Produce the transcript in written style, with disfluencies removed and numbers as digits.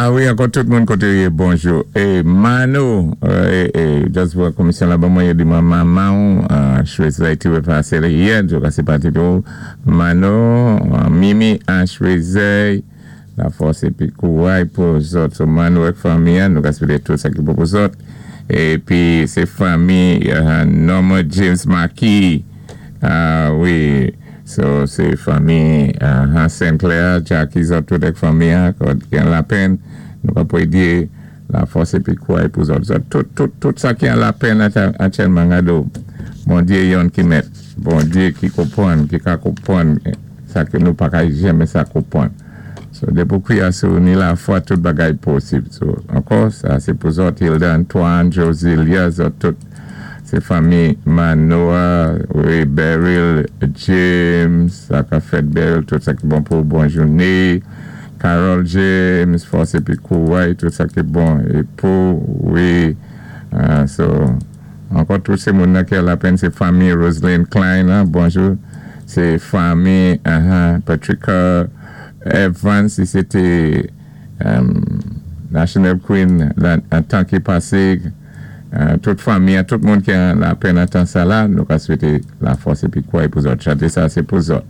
A wi, ankò tout moun koté ou yé, bonjou. É Mano, é just pou komisyon la ban mwen, yo di mwen manman Chwezey ti repasé li yè, yo ka sé pati tou. Mano, Mimi an Chwezey, la fòs épi kouray pou zòt. So Mano ak fanmi an, nou ka swété tout sa ki bon pou zòt. Épi sé fanmi Norma James Marquis, a wi. So sé fanmi Hans Sinclair, Jackie, zòt tout ak fanmi an ki an lapenn, nou ka pwédyé la fòs épi kouray pou zòt. Zòt tout tout tout sa ki an lapenn aktyèlman, gade w, Bondyé yonn ki mèt, Bondyé ki konpwann, ki ka konpwann sa ke nou pa ka janmen sa konpwann. So dépi w kwiyans sou ni lafwa, tout bagay posib. So ankò sa sé pou zòt, Hilda Antoine, Josilia, zòt tout. Sé fanmi Manoa, wi, Beryl James, sa ka fèt Beryl, tout sa ki bon pou ou, bon jouné. Carol James, fòs épi kouray, tout sa ki bon é pou ou, wi. So, ankò tout sé moun nan kè lapenn, sé fanmi Roseline Klein, bonjou. Sé fanmi Patrica Evans, si sé té National Queen lan tan ki pasé. Tout fanmi an, tout moun ki an lapenn an tan sa la, nou ka swété la fòs épi kouray pou zòt. Chanté sa sé pou zòt.